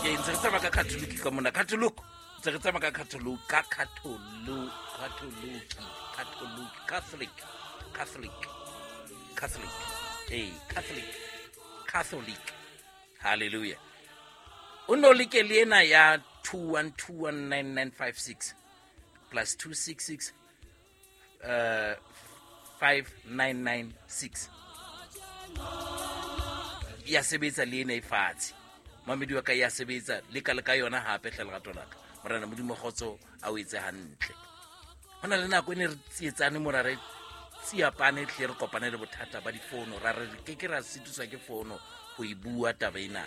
Ke ntse re tsamaya ka Catholic ka mona. Catholic. Ntse re tsamaya ka Catholic, ka Catholic, Catholic, Catholic, Catholic, Catholic, Catholic. Ee, Catholic, Catholic. Hallelujah. O no leke le ena ya 21219956 plus 266 5996 ya sebetsa le ena e fatshe mamedi wa ka ya sebetsa le ka le ka yona hape hle lerato la ka morena modimo kgotso a o etse hantle go na le nako e ne re tsietsane mora re tsiapane tle re kopane le bothata ba difono ra re ke ke ra sitiswa ke fono go e bua taba ena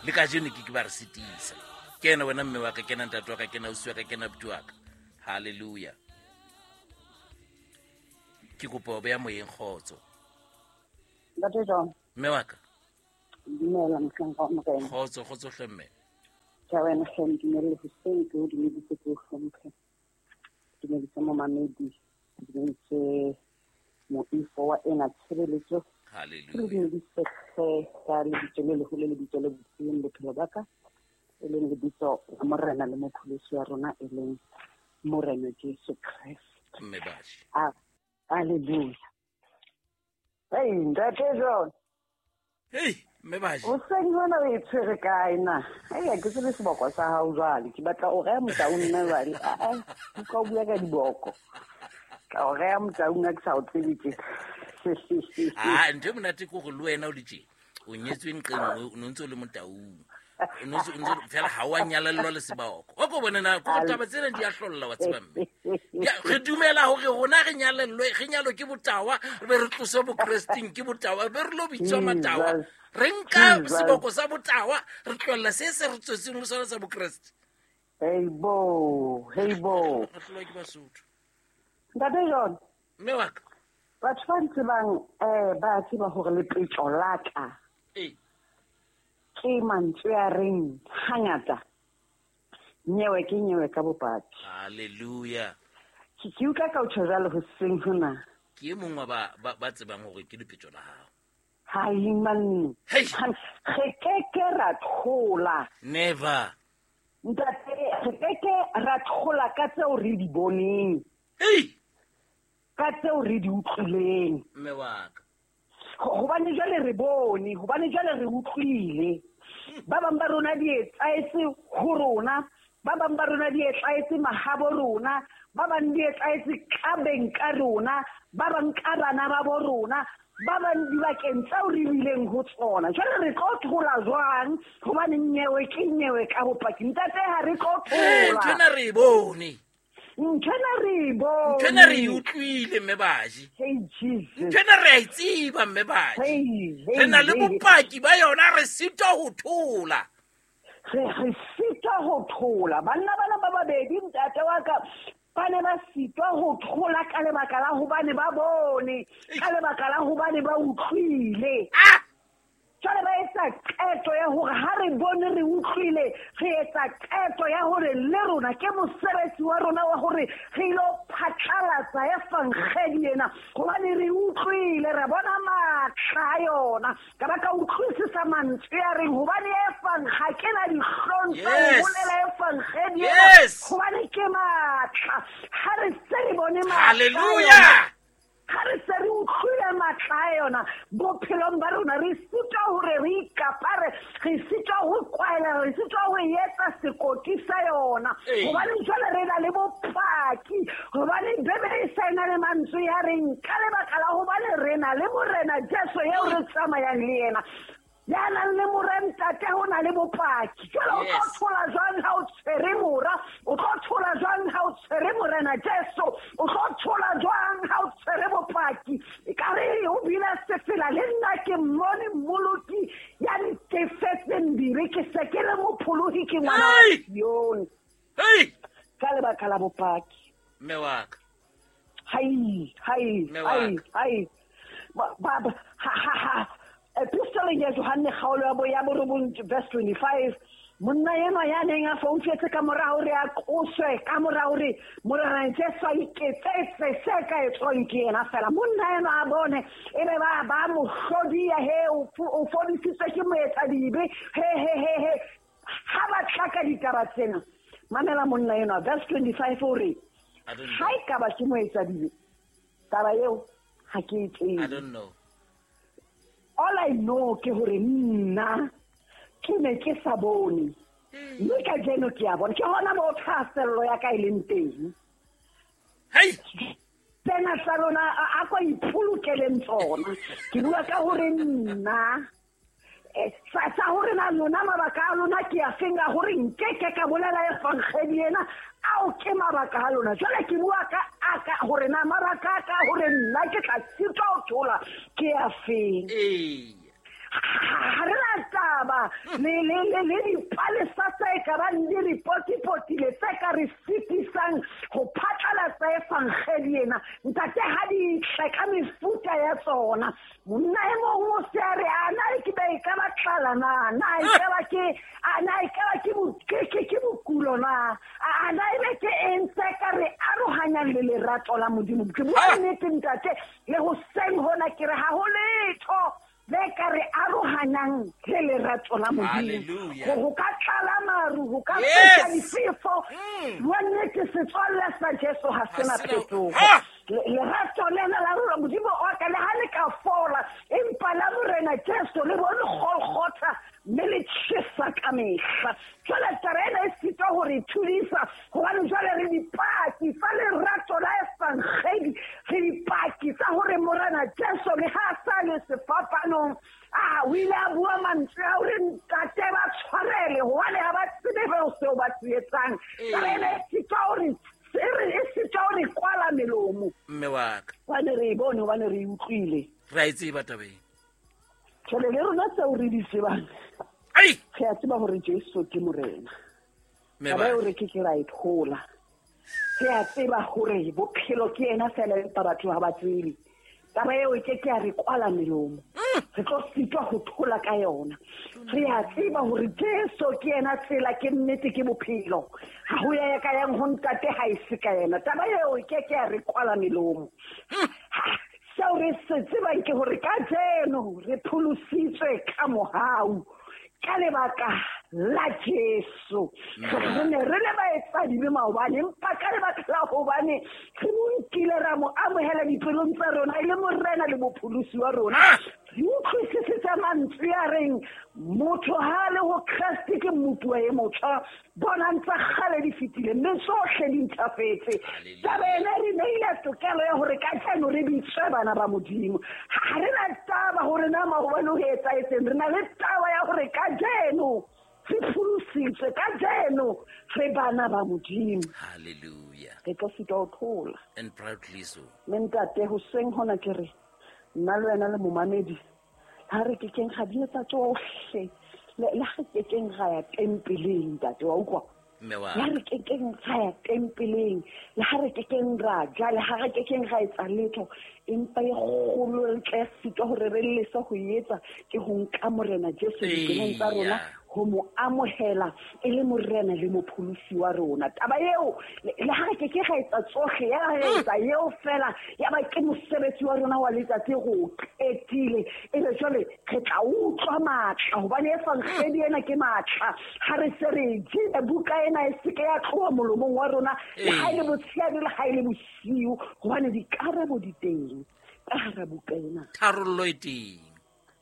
le ka jeno ke ke ba re sitisa ke ena wena mme wa ka ke ena ntate wa ka ke ena ausi wa ka ke ena buti wa ka halleluja ke kopa o beya moyeng kgotso. Ntate John. Mme wa ka. Dumela mohlanka wa Morena. Kgotso, kgotso hle mme. Ke a wena hle ntumelle hoseng ke o dumedise ke o hlomphe. Ke dumedise momamedi, ke dumedise moifo wa ena tshebeletso. Hallelujah. Ke dumedise hle ka lebitso le leholo lebitso le bopileng bophelo ba ka e leng lebitso la Morena le mopholosi wa rona e leng Morena Jesu Kreste. Mme Bashi. Hallelujah. Hey, ntate John. Hey, mme Bashi. Hoseng hona o e tshwere kae na? Hey, ha ke tsebe seboko sa hao jwale. Ke batla o reha motaung nna jwale. Ah, ah, utlwa o bua ka diboko. Ka o reha motaung ha ke sa o tsebe tje. Ah, ntho e monate ke hore le wena o le tje. O nyetswe nqeng nngwe, o no ntse o le motaung. O no ntse, o ntse, fela ha wa nyalellwa le seboko. O ko bone na, ko taba tsena di a hlolla wa tseba mme. Ya, re dumela hore rona re nyalellwe, re nyalwe ke botawa, re be re tloswe bokresteng ke botawa, be re lo bitswa matawa. Re nka seboko sa botawa, re tlohella se se re tswetseng ho sona sa bokreste. Hey bo, hey bo. Re hlolwa ke Basotho. Ntate John. Mme wa ka. Batho ba ntsebang, ba tseba hore lepetjo la ka. Ee. Ke mantswe a reng hangata nyewe ke nyewe ka bopaki. Hallelujah. Ke utlwa ka o tjho jwalo hoseng hona. Ke e mong wa ba tsebang hore ke lepetjo la hao. Hai man. Hey. Re ke ke ra thola. Never. Ntate, re ke ke ra thola ka tseo re di boneng. Hey. Ka tseo re di utlwileng. Mme wa ka. Hobane jwale re bone, hobane jwale re utlwile. Ba bang ba rona di etsaetse ho rona, ba bang ba rona di etsaetse mahabo rona, ba bang di etsaetse ka beng ka rona, ba bang ka bana ba bo rona, ba bang dibakeng tseo re bileng ho tsona. Jwale re tlo thola jwang? Hobane nyewe ke nyewe ka bopaki. Ntate, ha re tlo thola. Nthwena re e bone. Nthwena re e bone. Nthwena re e utlwile, mme Baji. Hey, Jesus. Nthwena re a e tseba, mme Baji. Hey, hey, Re na le hey. bopaki ba yona, re sitwa ho thola. Re sitwa ho thola. Banna bana ba babedi, ntate wa ka, ba ne ba sitwa ho thola ka lebaka la hobane ba bone, ka lebaka la hobane ba utlwile. Ah! Jwale ba etsa qeto ya hore ha re bone re utlwile, re etsa qeto ya hore le rona ke mosebetsi wa rona wa hore re ilo phatlalatsa evangeli ena, hobane re utlwile, re bona matla a yona. Ka ba ka utlwisisa mantswe a reng hobane ha ke na dihlong tsa ho bolela evangeli ena, hobane ke matla. Ha re se re bone matla a Hallelujah. yona, ha re se re utlwile matla a yona bophelong ba rona, re sitwa hore re ikapare, re sitwa ho kwaela, re sitwa ho etsa sekoti sa yona. Ee. Hobane jwale re na le bopaki, hobane Bibele e sa ena le mantswe ya reng ka lebaka la hobane re na le Morena Jesu eo re tsamayang le yena. Ya nang le mora ntate ho na le bopaki. Jwale o tlo thola jwang ha o tshwere mora? O tlo thola jwang ha o tshwere Morena Jesu? O tlo thola jwang ha o tshwere bopaki? Ekare o bile sefela le nna ke mmone mmoloki ya ntefetseng dibe, ke se ke le mopholohi, ke ngwana wa Hey! Sione. Hey! Ka lebaka la bopaki. Mme wa ka. Hai, hai, Mme wa hai, ka. hai. Ba, ba, ba, ha, ha, ha. Epistoleng ya Johanne kgaolo ya bo ya borobong verse 25, monna enwa ya neng a foufetse ka mora hore a qoswe, ka mora hore Morena Jesu a iketsetse se ka etswang ke yena fela. Monna enwa a bone, ebe ba mo hlodiya, he, o fodisitswe ke moetsadibe, he, he, he, he. ka ditaba tsena. Mamela monna enwa, verse 25 o re, ha e ka ba ke moetsadibe, taba eo ha ke e tsebe. I don't know. All I know ke hore nna ke ne ke sa bone. Mme kajeno ke a bona. Ke hona moo thahasello ya ka e leng teng. Hei! Tsena tsa lona a ko ipolokeleng tsona. Ke bua ka hore nna sa hore na lona mabaka a lona ke a feng a hore nkeke ka bolela evangeli ena, ao ke mabaka a lona. Jwale ke bua ka a ka hore na mabaka a ka hore nna ke tla sitwa ho thola ke a feng. Ha re na taba le dipalesa tse ka bang di re potipotile tse ka re sitisang ho phatlalatsa evangeli ena. Ntate ha di tle ka mefuta ya tsona. Monna e mong o se a re, a na e ke be e ka ba tlala na? Na e ka ba ke, a na e ka ba ke ke bokulo na? A na e be ke eng tse ka re arohanyang le lerato la Modimo? Ke bua nnete ntate, le hoseng hona ke re ha ho letho le ka re arohanyang le lerato la Modimo. Ho ka tlala maru, ho ka feta difefo. Bua nnete, setswalle sa Jesu ha se na phetoho. Lerato lena la rona Modimo wa ka le ha le ka fola, empa la Morena Jesu le bone Golgotha mme le tjhesa ka mehla. Jwale taba ena e sitwa ho re thudisa, hobane jwale re dipaki tsa lerato la evangeli, re dipaki tsa hore Morena Jesu le ha a sa le sefapanong, a o ile a bua mantswe a hore ntate ba tshwarele hobane ha ba tsebe seo ba se etsang. Taba ena e sitwa hore e sitwa hore kwala melomo. Mme wa ka. Hobane re e bone, hobane re e utlwile. Re a e tseba taba ena. Jwale le rona tseo re di tsebang, re a tseba hore Jesu ke Morena. Taba eo re ke ke ra e thola. Re a tseba hore bophelo ke yena feela, empa batho ha ba tsebe. Taba eo e ke ke ya re kwala melomo. Re tlo sitwa ho thola ka yona. Re a tseba hore Jesu ke yena tsela, ke nnete, ke bophelo. Ha ho ya ka yang ho ntate ha e se ka yena. Taba eo e ke ke ya re kwala melomo. Seo re se tsebang ke hore kajeno re pholositswe ka mohau, ka lebaka la Jesu. Re ne re le baetsadibe maobane, empa ka lebaka la hobane re mo nkile ra mo amohela dipelong tsa rona e le Morena le mopholosi wa rona. Re utlwisisitse mantswe a reng motho ha le ho Kreste ke mmupuwa e motjha, bonang tsa kgale di fetile mme tsohle di ntjhafetse. Taba ena re neile tokelo ya hore kajeno re bitswe bana ba Modimo. Ha re na taba hore na maobane ho etsahetseng, re na le taba ya hore kajeno re pholositswe, kajeno re bana ba Modimo. Hallelujah. Re tlo sitwa ho thola. And proudly so. Mme ntate, hoseng hona ke re nna le wena le momamedi, ha re kekeng ga di etsa tsohle, le ha re kekeng ra ya tempeleng, ntate, wa utlwa? Mme wa Le ha re kekeng ra ya tempeleng, le ha re kekeng ra ja, le ha re kekeng ra etsa letho, empa e kgolo re tla sitwa hore re lese ho e etsa ke ho nka Morena Jesu dipelong tsa rona, ho mo amohela e le Morena le mopholosi wa rona. Taba eo, le ha re keke ra etsa tsohle, ya re etsa eo fela, ya ba ke mosebetsi wa rona wa letsatsi re o qetile. Ebe jwale re tla utlwa matla, hobane evangeli ena ke matla. Ha re se re jele buka ena e se ke ya tloha molomong wa rona, le ha e le motshehare, le ha e le bosiu, hobane dikarabo di teng ka hara buka ena. Tharollo e teng.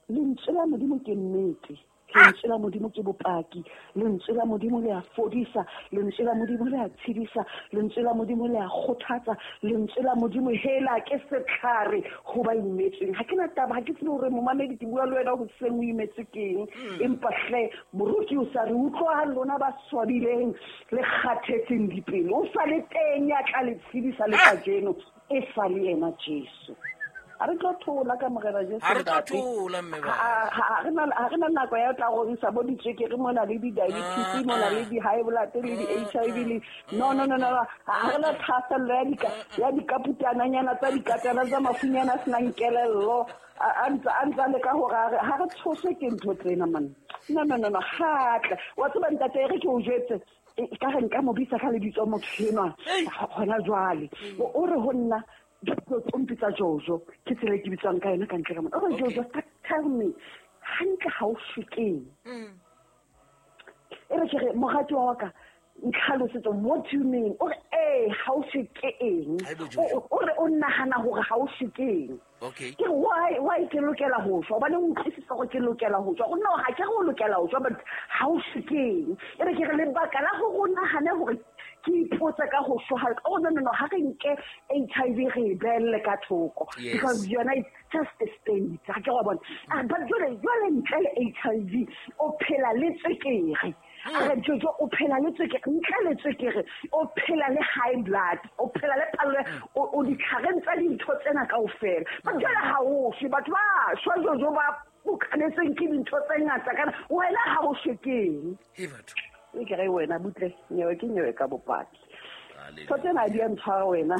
Lentswe la Modimo ke nnete. Lentswe la Modimo ke bopaki. Lentswe la Modimo le a fodisa. Lentswe la Modimo le a tshedisa. Lentswe la Modimo le a kgothatsa. Lentswe la Modimo hela ke setlhare ho ba imetsweng. Ha ke na taba, ha ke tsebe hore momamedi ke bua le wena hoseng o imetswe keng. Empa hle, moruti o sa re utlwa lona ba swabileng le kgathetseng dipelo. O sa le teng ya tla le tshedisa le kajeno, e sa le yena Jesu. Ha re tlo thola ka Morena Jesu. Ha re tlo thola, mme ba. Ha re na nako ya ho tla rorisa bo ditswekere mona le di-diabetes mona le di-high blood le di-HIV le no. Ha re na thahasello ya dikaputananyana tsa dikatana tsa mafunyana a senang kelello. A ntsa leka hore ha re tshoswe ke ntho tsena man. No, ha tla. Wa tseba ntate, e re ke o jwetse, ka re nka mo bitsa ka lebitso motho enwa hona jwale. O re ho nna, o mpitsa Jojo, ke tsela e ke bitswang ka yona ka ntle ka mona. O re, Jojo, tell me, hantle ha o shwe keng? E E re ke re moratuwa wa ka ntlhalosetso, what do you mean? O re ee, ha o shwe ke eng? O re o nahana hore ha o shwe ke eng? Okay. Ke why ke lokela ho shwa? Hobane o utlwisisa hore ke lokela ho shwa. No, ha ke re o lokela ho shwa, but ha o shwe ke eng? E re ke re lebaka la hore o nahane hore ke ipotse ka ho shwa. Oh no no no, ha re nke HIV re e behelle ka thoko. Because yona it's just a state. Ha ke wa bona. But jwale ntle le HIV o phela le tswekere. A re Jojo o phela le tswekere, ntle le tswekere o phela le high blood, o phela le phallo, o ditlhareng tsa dintho tsena kaofela. But jwale ha o shwe, batho ba shwa Jojo ba bokanetseng ke dintho tse ngata kana wena ha o shwe ke eng? He batho. E ke re wena butle, nyewe ke nyewe ka bopaki. Ntho tsena di a ntshwara wena,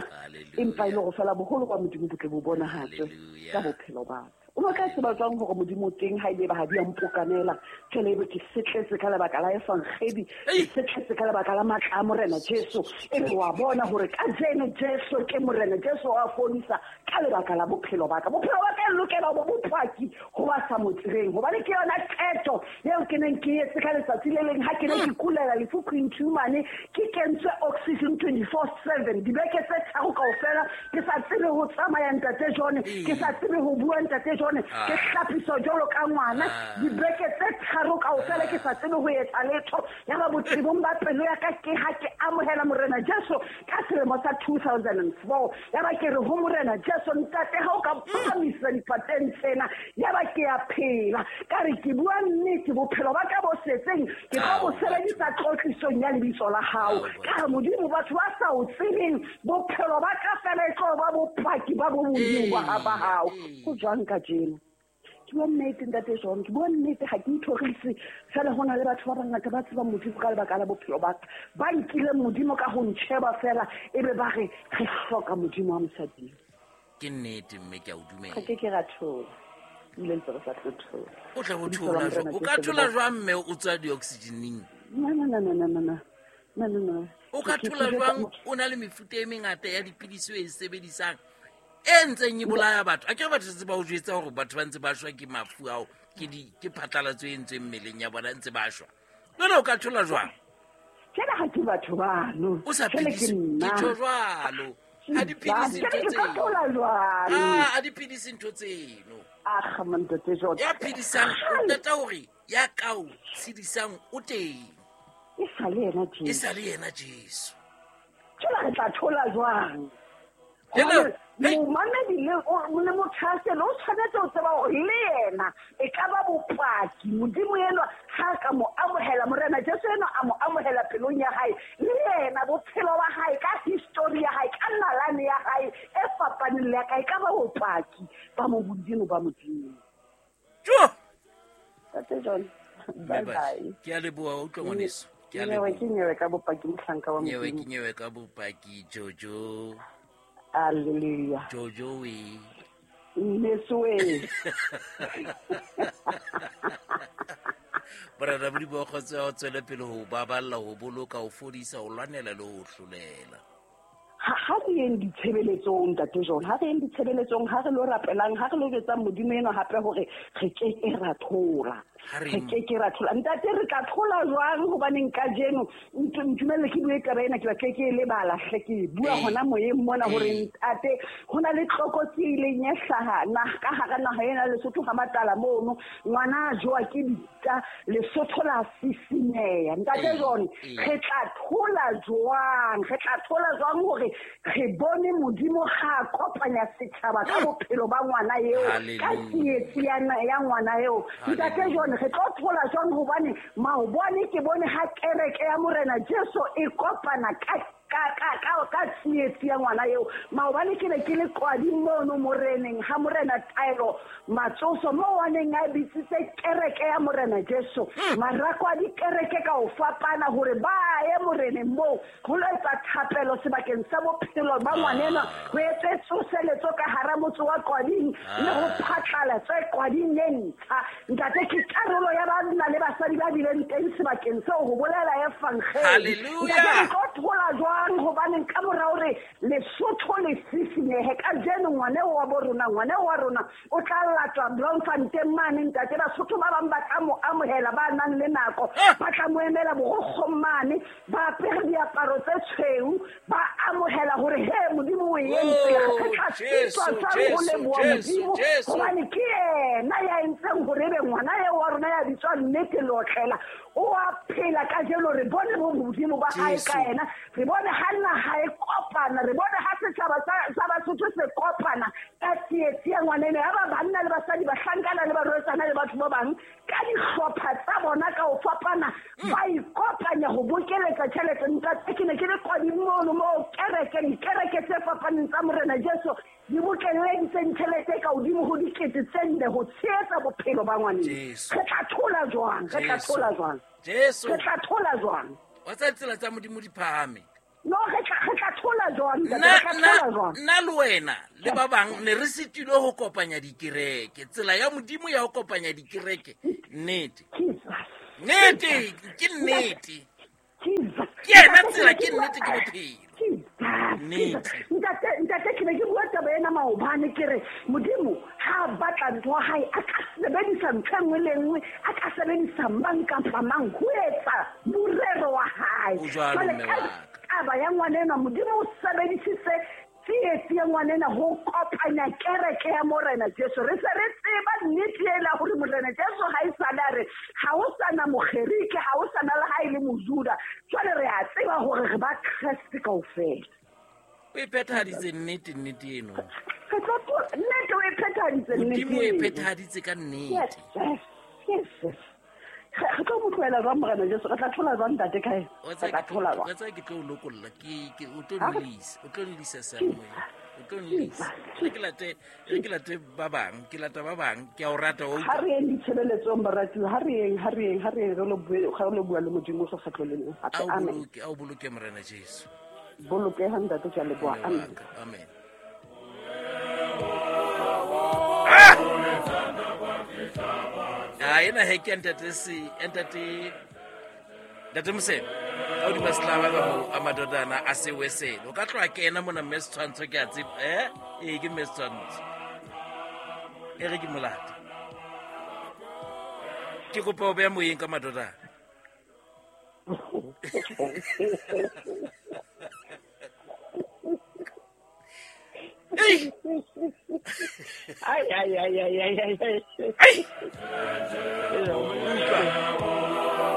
empa e le hore fela boholo ba Modimo bo tle bo bonahatswe ka bophelo ba ka. O no tla tseba jwang hore Modimo o teng ha ebe ba ha di a mpokanela? Jwale ebe ke setletse ka lebaka la Evangeli, ke setletse ka lebaka la matla a Morena Jesu. Ebe wa bona hore kajeno Jesu ke Morena, Jesu wa fodisa ka lebaka la bophelo ba ka. Bophelo ba ka e lokela ho ba bopaki ho ba sa mo tsebeng, hobane ke yona qeto eo ke neng ke etse ka letsatsi le leng ha ke ne ke kulela lefu Queen Tumane, ke kentswe oxygen 24/7 dibeke tse tharo kaofela, ke sa tsebe ho tsamaya ntate John, ke sa tsebe ho bua ntate John, ke hlapiswa jwalo ka ngwana dibeke tse tharo kaofela, ke sa tsebe ho etsa letho. Ya ba botebong ba pelo ya ka ke ha ke amohela Morena Jesu ka selemo sa 2004. Ya ba ke re ho Morena Jesu, ntate ha o ka phahamisa dipateng tsena, ya ba ke a phela. Ka re ke bua nnete, bophelo ba ka bo setseng ke tlo bo sebedisa tlotlisong ya lebitso la hao. Ka re Modimo, batho ba sa o tsebeng, bophelo ba ka fela e tlo ba bopaki ba bo Modimo ba hao. Ho jwang kajeno? Ke bua nnete ntate John, ke bua nnete, ha ke ithorise. Fela ho na le batho ba bangata ba tsebang Modimo ka lebaka la bophelo ba ka, ba nkileng Modimo ka ho ntjheba fela, ebe ba re re hloka Modimo wa mosading. Ke nnete mme ke a o dumela. Ga ke ke ra thola, ebile ntse re sa tlo thola. O tla bo thola jwang? O ka thola jwang mme o tswa di-oxygeneng? No no no no no no no no no. O ka thola jwang o na le mefuta e mengata ya dipidisi o e sebedisang e ntseng e bolaya batho? A ke re batho setse ba o jwetsa hore batho ba ntse ba shwa ke mafu ao, ke phatlalatso e entsweng mmeleng ya bona, ntse ba shwa. Jwale o ka thola jwang? Jwale ha ke batho bano. O sa phedise, ke tjho jwalo. Ha di phedise ntho tseno. Ha di phedise ntho tseno. Akga mantate John. Ya phedisang, o qeta hore ya ka o tshedisang o teng. E sa le yena Jesu. E sa le yena Jesu. Jwale re tla thola jwang? Momamedi le mothaselo o tshwanetse ho tseba hore le yena e ka ba bopaki. Modimo enwa ha ka mo amohela, Morena Jesu enwa a mo amohela pelong ya hae, le yena bophelo ba hae ka history ya hae, ka nalane ya hae e fapaneng le ya ka, e ka ba bopaki ba mo Modimo ba Modimo. Jo! Tate John, bye bye. Ke a leboha, utlwa ngwaneso. Ke a leboha. Ke nyewe ka bopaki mohlanka wa Modimo. Nyewe ke nyewe ka bopaki Jojo. Hallelujah. Jojo we. Neswe. Morena Modimo wa kgotso ya ho tswele pele ho baballa, ho boloka, ho fodisa, ho lwanela le ho hlolela. Ha re yeng ditshebeletsong ntate John, ha re yeng ditshebeletsong, ha re lo rapelang, ha re lo jwetsang Modimo enwa hape hore re ke ke ra thola. Re ke ke ra thola. Ntate re tla thola jwang? Hobaneng kajeno ntumelle ke bue taba ena, ke batle ke e lebala hle, ke bua hona moyeng mona hore ntate ho na le tlokotsi e ileng ya hlaha ka hara naha ena Lesotho ha Matala mono, ngwana a jowa ke dita, Lesotho la sisinyeha. Ntate John, re tla thola jwang? Re tla thola jwang hore re bone Modimo ha kopanya setjhaba ka bophelo ba ngwana eo, ka tsietsi ya ngwana eo? Ntate John, re tlo thola jwang? Hobane maobane ke bone ha kereke ya Morena Jesu e kopana ka tsietsi ya ngwana eo. Maobane ke ne ke le qwadi mono moreneng ha Morena Taelo Matsoso mo a neng a bitsitse kereke ya Morena Jesu, marako a dikereke ka ho fapana hore ba ye moreneng moo ho lo etsa thapelo sebakeng sa bophelo ba ngwanenwa, ho etse tsoseletso ka hara motse wa Qwading le ho phatlalatse Qwading e ntjha. Ntate, ke karolo ya banna le basadi ba bileng teng sebakeng seo ho bolela evangeli. Hallelujah. Ntate, re tlo thola jwang? Hobaneng ka mora hore Lesotho le sisinyehe, senyehe. Kajeno ngwane wa bo rona, ngwane wa rona o tla latwa Bloemfontein mane ntate. Basotho ba bang ba tla mo amohela, ba nang le nako ba tla mo emela borokgong mane, ba apere diaparo tse tshweu, ba amohela hore he Modimo o entse. Re tla sitwa jwang ho leboha Modimo, hobane ke yena ya entseng hore ebe ngwana eo wa rona ya bitswang Nnete Leotlela o a phela kajeno. Re bone bo Modimo ba hae ka yena, re bone ha naha e kopana, re bone ha setjhaba sa Basotho se kopana ka tsietsi ya ngwana ena, ya ba banna le basadi, bahlankana le barwetsana le batho ba bang ka dihlopha tsa bona ka ho fapana, ba ikopanya ho bokeletsa tjhelete. Ntate, ke ne ke le kwading mono moo kereke, dikereke tse fapaneng tsa Morena Jesu di bokelleditseng tjhelete ka hodimo ho 4,000 ho tshehetsa bophelo ba ngwaneng. Re tla thola jwang? Re tla thola jwang? Jesu. Re tla thola jwang? Wa tsa tsela tsa Modimo di phahame. No, re tla thola jwang? Re tla thola jwang? Nna le wena le ba bang ne re sitilwe ho kopanya dikereke. Tsela ya Modimo ya ho kopanya dikereke. Nnete. Nnete, ke nnete. Ke yena tsela, ke nnete, ke bophelo. Nnete. Ntate, ke ne ke bua taba ena maobane, ke re Modimo ha a batla ntho ya hae, a ka sebedisa ntho e nngwe le nngwe, a ka sebedisa mang kapa mang ho etsa morero wa hae. O jwalo, Jwale mme ka wa ka. taba ya ngwana enwa, Modimo o sebedisitse tsietsi ya ngwana ena ho kopanya kereke ya Morena Jesu. Re se re tseba nnete ena hore Morena Jesu ha e sale a re ha ho sana Mogerike, ha ho sana le ha e le Mojuda. Jwale re a tseba hore re ba Kreste kaofela. O e phethahaditse nnete, nnete eno. Re tlo nnete o e phethahaditse nnete Modimo o e eno. phethahaditse ka nnete. Yes, yes, yes, yes. Re tlo mo tlohela jwang Morena Jesu? Re tla thola jwang ntate kae? Wa Re tseba tla ke thola jwang? wa tseba ke tlo o lokolla, ke o tlo Ha re nlisa, o tlo nlisa seyalemoyeng. O tlo nlisa. Re ke late, re ke late ba bang, ke lata ba bang, ke a o rata wa Ha utlwa. re yeng ditshebeletsong, baratuwa, ha re yeng, ha re yeng, ha re yeng, re lo bue, re lo bua le Modimo sekgetlo le leng hape. A o Amen. boloke, a o boloke Morena Jesu. Bolokeha ntate, ke a leboha. Mme wa Amen. ka, amen. Ah, ena he ke ntate se, ntate, ntate Mosebe. Ka hodima setlaba ka moo, a madodana a sewesele. O ka tloha kena mona mme Setshwantsho, ke a tseba. Ee, ke mme Setshwantsho. E re ke molata. Ke kopa ho beha moyeng ka madodana. Ei! Ai, ai, ai, ai, ai, ai, ai. Ai! Utlwa.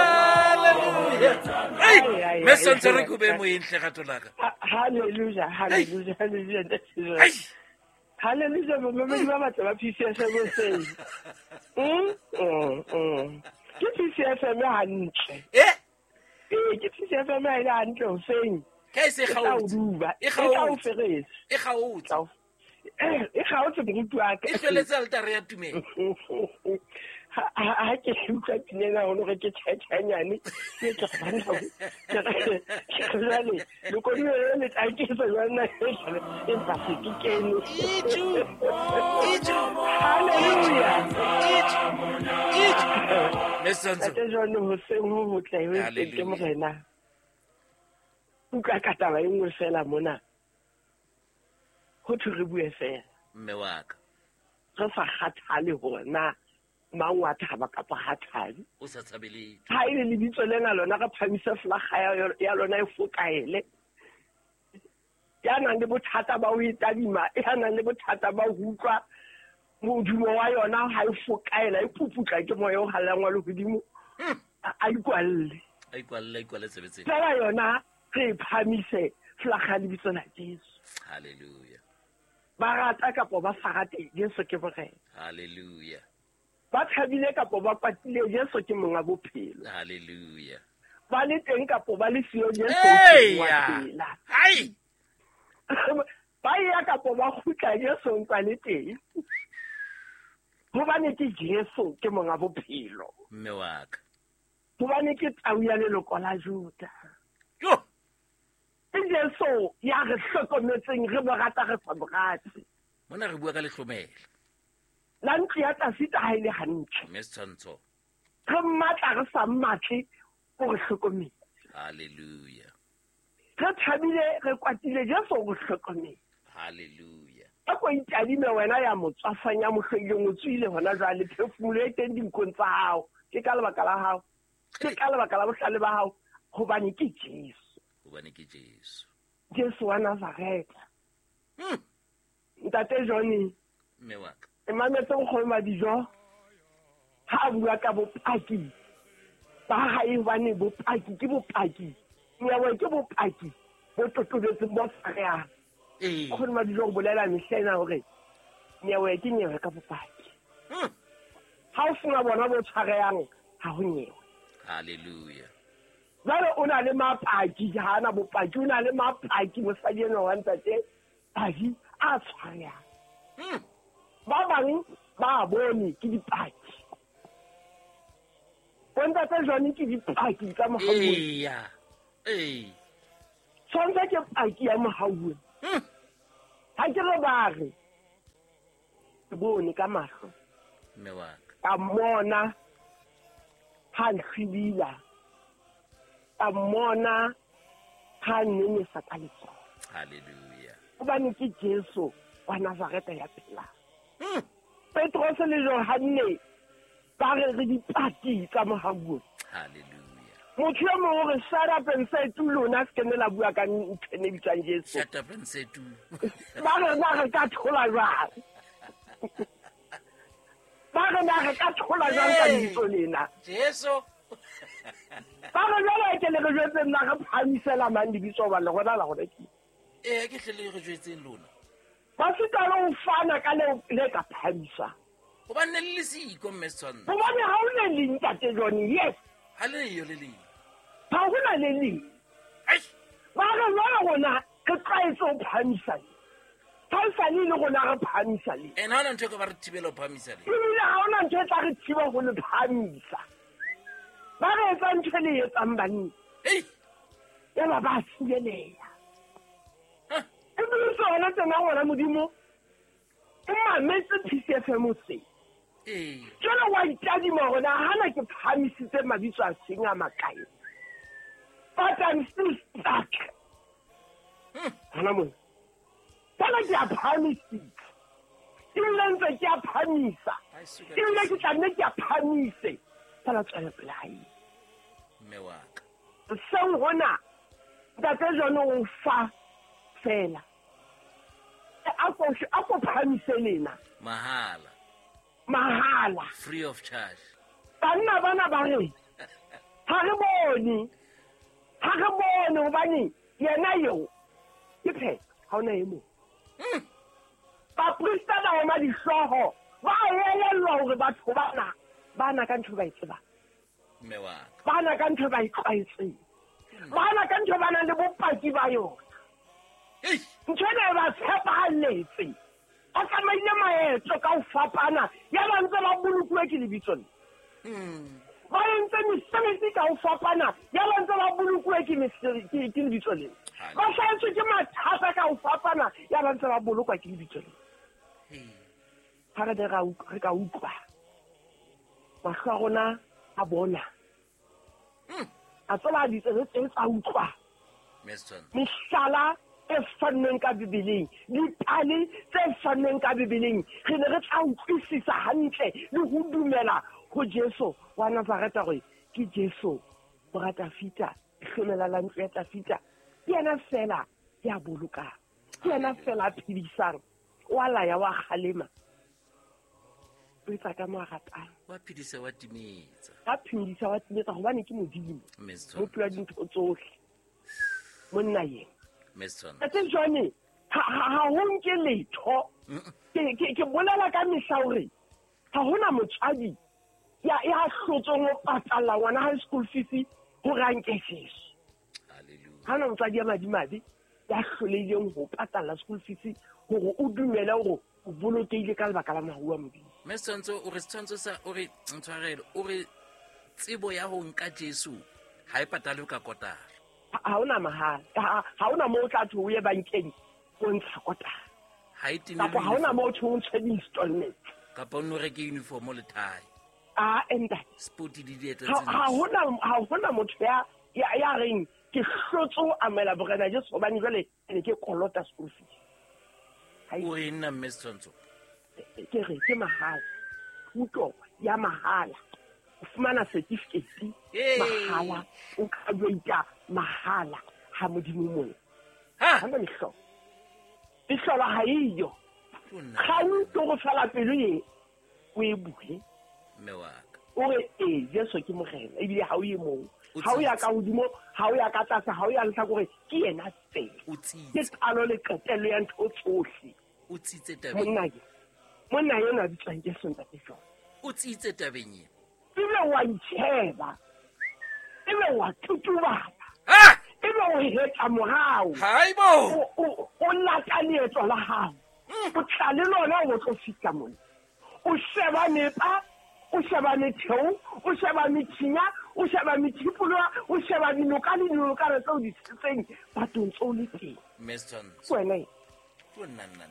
Hallelujah. Ai! Mme Setshwantsho, re ke o behe moyeng hle, rato la ka. Hallelujah, hallelujah, hallelujah. Ai! Hallelujah, momamedi ba batle ba PCFM hoseng. Ke PCFM hantle. Eh? Ee, ke PCFM ha e le hantle hoseng. Ka e se E tla o kgaotse. duba. E E tla o kgaotse. ferese. E kgaotse. E kgaotse moruti wa ka. E hlweletse altare ya tumelo. Ha ke utlwa pina ena haholo hore ke tjhatjhanyane, ke tla banna ho, ke re, ke re jwale, lekodilo le le tla nketsa jwang na? Empa se ke kene. Iju, iju, Hallelujah. iju, iju. Mme Setshwantsho. Ntate John, hoseng ho hotle, ho entseng ke Hallelujah. Morena. Utlwa ka taba e nngwe fela mona. Ho thwe re bue fela. Mme wa ka. Re sa kgathale hore na mang wa thaba kapa ha thabe. O sa tshabe letho. Ha e le lebitso lena lona, re phamise flaga ya lona e fokaele. Ya nang le bothata ba ho e tadima, ya nang le bothata ba ho utlwa modumo wa yona ha e fokaela, e puputla ke moya o hallang wa lehodimo, a ikwalle. A ikwalle, a ikwalle tsebe tsena. Fela yona re e phamise flaga ya lebitso la Jesu. Hallelujah. Ba rata kapa ba sa rate, Jesu ke Morena. Hallelujah. Ba thabile kapa ba kwatile, Jesu ke monga bophelo. Hallelujah. Ba le teng kapa ba le siyo, Jesu ke wa Eya. phela. Hai! Ba ya kapa ba kgutla, Jesu o ntse a le teng. Hobane ke Jesu ke monga bophelo. Mme wa ka. Hobane ke tau ya leloko la Juda. Jo! Ke Jesu ya re hlokometseng, re mo rata re sa mo rate. Mona re bua ka lehlomela. La ntlo ya Tafita ha e le hantle. Mme Setshwantsho. Re mmatla re sa mmatle, o re hlokometse. Hallelujah. Re thabile re kwatile, Jesu o re hlokometse. Hallelujah. A ko itadime wena ya motswafang ya mohloileng, o tswile hona jwale, phefumolo e teng dinkong tsa hao. Ke ka lebaka la hao, ke ka lebaka la bohlale ba hao, hobane ke Jesu. Hobane ke Jesu. Jesu wa Nazareta. Ntate Johnny. Mme wa ka. E mametse nkgono Madijo ha a bua ka bopaki ba hae, hobane bopaki ke bopaki. Nyewe ke bopaki bo totobetseng bo tshwarehang. Nkgono Madijo o bolela mehla ena hore nyewe ke nyewe ka bopaki. Ha o sena bona bo tshwarehang, ha ho nyewe. Hallelujah. Jwale o na le mapaki, ha ana bopaki, o na le mapaki mosadi enwa wa ntate Padi a tshwarehang. Ba bang ba bone ke dipaki. Bontate Johnny ke dipaki tsa mohau. Eya. Ee. Tshwantsha ke paki ya mohau. Ha ke re ba re ke bone ka mahlo. Mme wa ka. Ka mmona ha nhlwibila. Ka mmona ha nnenesa ka letsoho. Hallelujah. Hobane ke Jesu wa Nazareta ya phelang. Petrose le Johanne ba re re dipaki tsa mohau. Hallelujah. Motho e mong o re shut up and say tu lona se kene la bua ka ntho e ne bitswang Jesu. Shut up and say tu. Ba re na re ka thola jwang? Ba re na re ka thola jwang ka lebitso lena? Jesu. Ba re jwale ke le re jwetseng na re phahamisela mang lebitso hoba le rona la rona ke. Ee, ke hle le re jwetseng lona. Ba sita le ho fana ka leo le ka phahamisa. Hobane ne le le siko, mme Setshwantsho. Hobane ha o le leng, Ntate Johnny, yes. Ha le yo le leng. Ha hona le leng. Eish. Ba re jwale rona re tlwaetse ho phahamisa le. Ha e sale le rona re phahamisa le. Ene ha hona ntho e ka ba re thibela ho phahamisa le. Ebile ha hona ntho e tla re thiba ho le phahamisa. Ba re etsa ntho e le etsang banna. Ei. Yaba ba thibeleha. Ebile sona tsena ngwana Modimo, o mametse PCFM se. Jwale wa itadima hore na hana ke phahamisitse mabitso a seng a makae. But I'm still stuck. Hona mona. Jwale ke a phahamisitse. Ebile ntse ke a phahamisa. Ebile ke tla nne ke a phahamise. Fela tswela pele hae. Mme wa ka. Seng hona, Ntate John o fa fela. A ko phahamise lena. Mahala. Mahala. Free of charge. Banna bana ba re, ha re bone. Ha re bone hobane yena eo ke phetho, ha hona e mong. Baprista ba oma dihlooho, ba elellwa hore batho bana ba na ka ntho ba e tsebang. Mme wa ka. Ba na ka ntho ba e tlwaetseng. Ba na ka ntho ba nang le bopaki ba yona. Ntho ena e ba tshepahalletse. Ba tsamaile maeto ka ho fapana, ya ba ntse ba bolokuwe ke lebitso le. Ba entse mesebetsi ka ho fapana, ya ba ntse ba bolokuwe ke lebitso le. Ba hlahetswe ke mathata ka ho fapana, ya ba ntse ba bolokwa ke lebitso le. Ha re ne re ka utlwa, mahlo a rona a bona. A tseba ditsebe tse tsa utlwa. Mehlala e fannweng ka Bibeleng, dipale tse fannweng ka Bibeleng, re ne re tla utlwisisa hantle le ho dumela ho Jesu wa Nazareta hore ke Jesu mora Dafita, lehlomela la ntlo ya Dafita. Ke yena fela ya bolokang, ke yena fela a phedisang, wa laya, wa kgalema. O etsa ka mo a ratang. Wa phedisa, wa timetsa. Wa phedisa, wa timetsa, hobane ke Modimo. Mmopi wa dintho tsohle. Monna yena. Ntate Johnny, ha ho nke letho. Ke bolela ka mehla hore ha hona motswadi ya hlotsong ho patalla ngwana high school fees hore a nke Jesu. Hallelujah. Ha hona motswadi ya madimabe ya hlolehileng ho patalla school fees hore o dumele hore o bolokehile ka lebaka la mohau wa Modimo. Mme Setshwantsho, o re Setshwantsho sa, o re ntshwarelo, o re tsebo ya ho nka Jesu ha e patalwe ka kotara. Ha hona mahala. Ha hona moo o tla thwe o ye bankeng o ntsha kotara. Ha e timele Kapa ha hona moo o thwe o ntshe di-installment. Kapa o nno reke uniform le tie. A ntate. Spoti di dieta Ha hona motho ya reng ke hlotse ho amohela Morena Jesu hobane jwale ne ke kolota school fees. O re nna mme Setshwantsho? Ke re ke mahala. Thuto ya mahala. O fumana certificate mahala, o graduate mahala ha Modimo mona. Ha na mehlolo. Mehlolo ha eyo. Ga o tlo go fela pelo e o e bule. Mme wa ka. O re e Jesu ke Morena ebile ha o ye moo. Ha o ya ka hodimo, ha o ya ka tlase, ha o ya lehlakoreng, ke yena fela. O tsitse. Ke qalo le qetello ya ntho tsohle. O tsitse tabeng. Monna yena bitswang Jesu ntate John. O tsitse tabeng e. Ebe wa itsheba. Ebe wa tutubala. Ha! Ebe o hetla morao. Haibo! O lata leeto la hao. O tla le lona o tlo fihla mona. O sheba mepa, o sheba metheo, o sheba methinya, o sheba methipoloa, o sheba dinoka le dinokana tseo di tshetseng bathong tseo le teng. Mme Setshwantsho. Wena. Nna.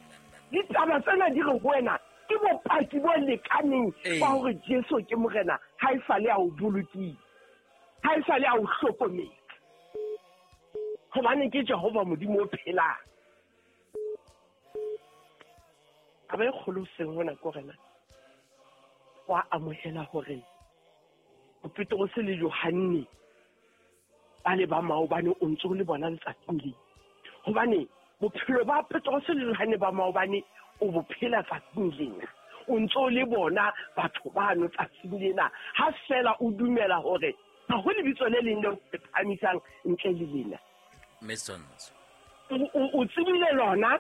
Ditaba tsena di re ho wena ke bopaki bo lekaneng ba hore Jesu ke Morena ha e sale a o bolokile, ha e sale a o hlokometse. Hobane ke Jehova Modimo o phelang. Taba e kgolo seng hona ke hore na wa amohela hore Petrose le Johanne ba le ba maobane o ntso le bona letsatsing le. Hobane bophelo ba Petrose le Johanne ba maobane o bo phela tsatsing lena. O ntso le bona batho bano tsatsing lena. Ha fela o dumela hore ha ho lebitso le leng le phahamisang ntle le lena. Mme Setshwantsho. O tsebile lona,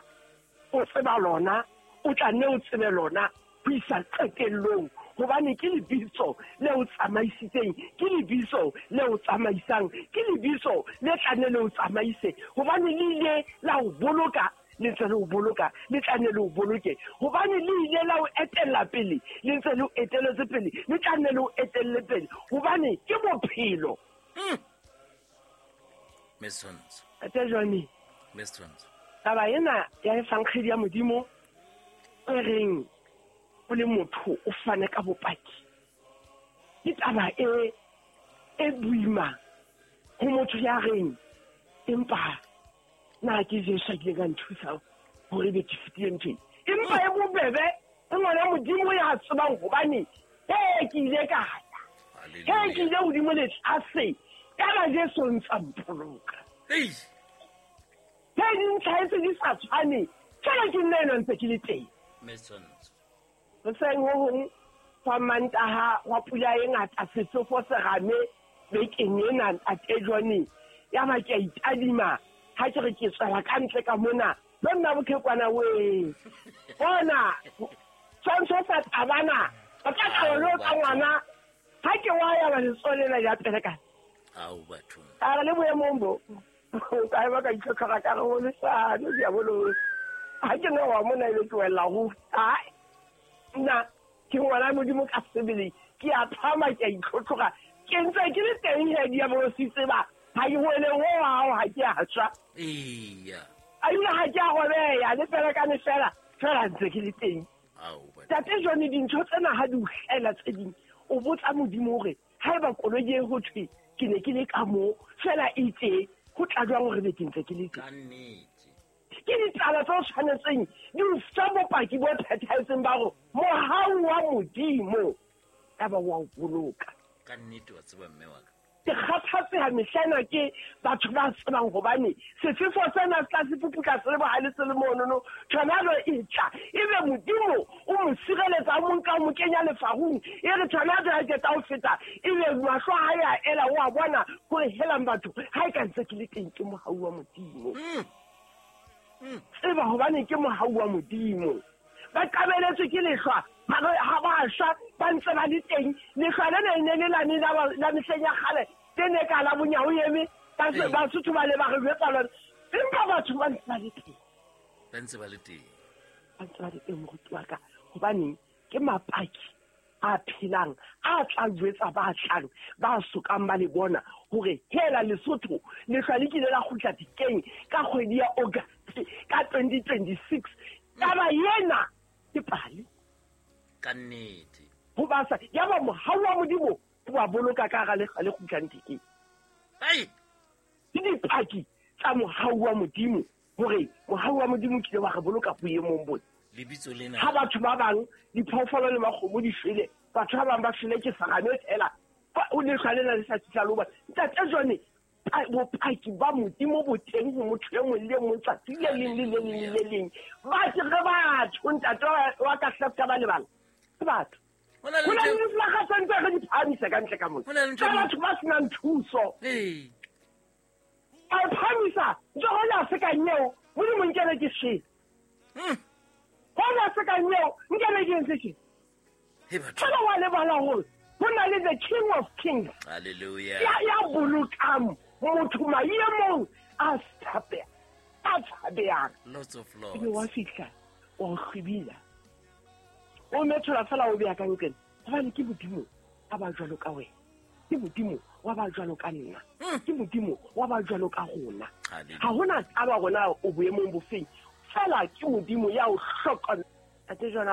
o tseba lona, o tla nne o tsebe lona ho isa qetellong. Hobane ke lebitso le o tsamaisitseng, ke lebitso le o tsamaisang, ke lebitso le tla nne le o tsamaise. Hobane le ile la o boloka, le ntse le o boloka, le tla nne le o boloke. Hobane le ile la o etella pele, le ntse le o etelletse pele, le tla nne le o etelle pele. Hobane ke bophelo. Mme Setshwantsho. Ate Johnny. Mme Setshwantsho. Taba ena ya efankgedi ya Modimo e reng o le motho o fane ka bopaki. Ke taba e boima ho motho ya reng empa na ke Jesu a kileng a nthusa hore be ke fetile ntho e. Empa e bobebe e ngwana Modimo ya tsebang hobane ke ile ka ya. Ke ile hodimo le tlase ka Jesu ntsa mpoloka. Ei. Ke dintlha tse di sa tshwane fela ke nna ena ntse ke le teng. Mme Setshwantsho. Hoseng ho hong fa Mantaha wa pula e ngata sefefo se rame bekeng ena ntate Johnny. Ya ba ke a itadima ha ke re ke tswela ka ntle ka mona le nna bokhekwana we. Bona tshwantsho sa tabana ba ka tla lo tsa ngwana ha ke wa ya ba letsoho lena ya pele ka. Ao batho. A re le boemong bo. Ka ba ka itlhotlhora ka re ho leshano diabolo. Ha ke no wa mona ile ke wela ho. Ai. Nna ke ngwana Modimo ka sebele ke a phama ke a itlhotlhora ke ntse ke le teng he diabolo se tseba ha ke wele ho hao ha ke a tswa. Eya. A ile ha ke a robeya le pelekane fela fela ntse ke le teng. Ao batho. Tate Johnny dintho tsena ha di o hlela tse ding o botsa Modimo hore haeba koloi e ho thwe ke ne ke le ka moo fela e tse ho tla jwang hore be ke ntse ke le teng. Ka nnete. Ke ditaba tse tshwanetseng di o fa bopaki bo phethahetseng ba hore mohau wa Modimo ka ba wa o boloka. Ka nnete wa tseba mme wa ka. Ke kgathatseha mehlena ke batho ba tsebang hobane sefefo sena se tla se puputla se le bohale se le monono tornado e tla ebe Modimo o mo sireletsa o mo nka o mo kenya lefarung e re tornado ha ke tla o feta ebe mahlo ha ya ela o a bona hore helang batho ha e ka ntse ke le teng ke mohau wa Modimo. Tseba hobane ke mohau wa Modimo. Ba qabeletswe ke lehlwa ha ba shwa ba ntse ba le teng lehlwa lena e ne le lane la mehleng ya kgale ke ne ka la bonyao eme Basotho ba le ba re jwetsa lona empa batho ba ntse ba le teng. Ba ntse ba le teng. Ba ntse ba le teng moruti wa ka hobaneng ke mapaki a phelang a tla jwetsa ba tlang ba sokang ba le bona hore hela Lesotho lehlwa le kile la kgutla dikeng ka kgwedi ya August ka 2026. Taba ena ke pale. Ka nnete. Ho ba sa yaba mohau wa Modimo o ba boloka ka hara lehlwa le kgutlang thekeng. Ai. Ke dipaki tsa mohau wa Modimo hore mohau wa Modimo o kile wa re boloka boemong bona. Lebitso lena. Ha batho ba bang diphoofolo le makgomo di shwele, batho ba bang ba shwele ke serame fela. O lehlwa lena le sa fihla le ho bona. Ntate John, bopaki ba Modimo bo teng ho motho e mong le e mong tsatsi le leng le le leng le le leng. Ba ke re batho ntate wa ka hlafka ba lebala. Ke batho. Ho na Ho le na le ntho- diflaga tse ntse re di phahamisa ka ntle ka mona. Ho na le ntho Tsa e- batho ba senang thuso. Ee. A e phahamisa, ntse ho la se kang eo, Modimo nkebe ke shwele. Ho la se kang eo, nkebe ke entse tjena. He batho. Fela wa lebala hore ho na le the King of Kings. Hallelujah. Ya bolokang motho maemong a a tshabehang. Lots of Ebe wa lords. fihla, wa o hlwibila. O methola fela o beya ka nqena. Hobane ke Modimo a ba jwalo ka wena. Ke Modimo wa ba jwalo ka nna. Ke Modimo wa ba jwalo ka rona. Hallelujah. Ha hona taba rona o boemong bofeng. Fela ke Modimo ya o hlokomela. Ntate John a